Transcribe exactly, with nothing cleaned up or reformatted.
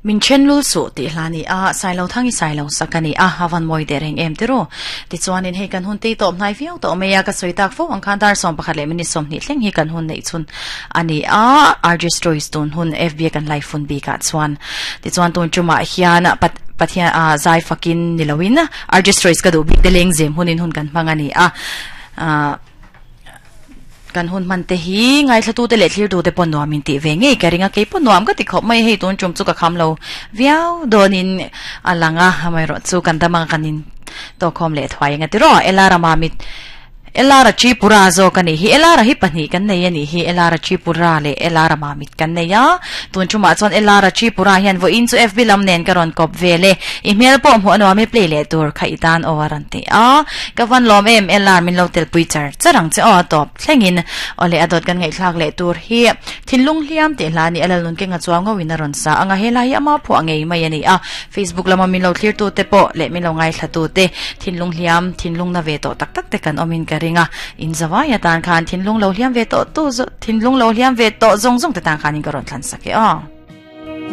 Min chen lul su ti hlani a sailo thangi sailo sakani a hawan moi de reng em tiro ti chuanin hei kan hun te to hnai viau to meya ka soitak fo ang khan dar som pakhat le mini som ni thleng hi kan hun nei chun ani a R J Stories tun hun F B kan live fun bi ka chuan ti chuan tun chuma hian pat pathian a zai fakin nilowin R J Stories ka du bik te leng zem hunin hun kan hmangani a kan hun man te hi ngai thlatu te le thlir tu te pon nuam in ti ve nge ka ringa ke pon nuam ka ti khop mai hei tun chum chu ka kham lo viau donin alanga hamai ro chu kan damang kanin to khom le thwai nga ti ro elara mamit elara chi pura zo kani hi elara hi pani kan nei ani hi elara chi pura le elara mamit kan nei ya tun chuma chuan elara chi pura hian vo in chu F B lam nen karon kop vele email po mu anwa me play le tur khaitan owaran te a kawan lom em elar min lo tel pui char charang che o top thlengin ole adot kan ngai thlak le tur hi thinlung hliam te hla ni alalun ke nga chuang ngawin ron sa anga hela hi ama phu angei mai ani a Facebook lama min lo thlir tu te po le min lo ngai thla tu te thinlung hliam thinlung na ve to tak tak te kan omin ka ringa in zawaya tan khan thinlung lo hliam ve to tu thinlung lo hliam ve to zong zong te tan khan in karon thlan sake a.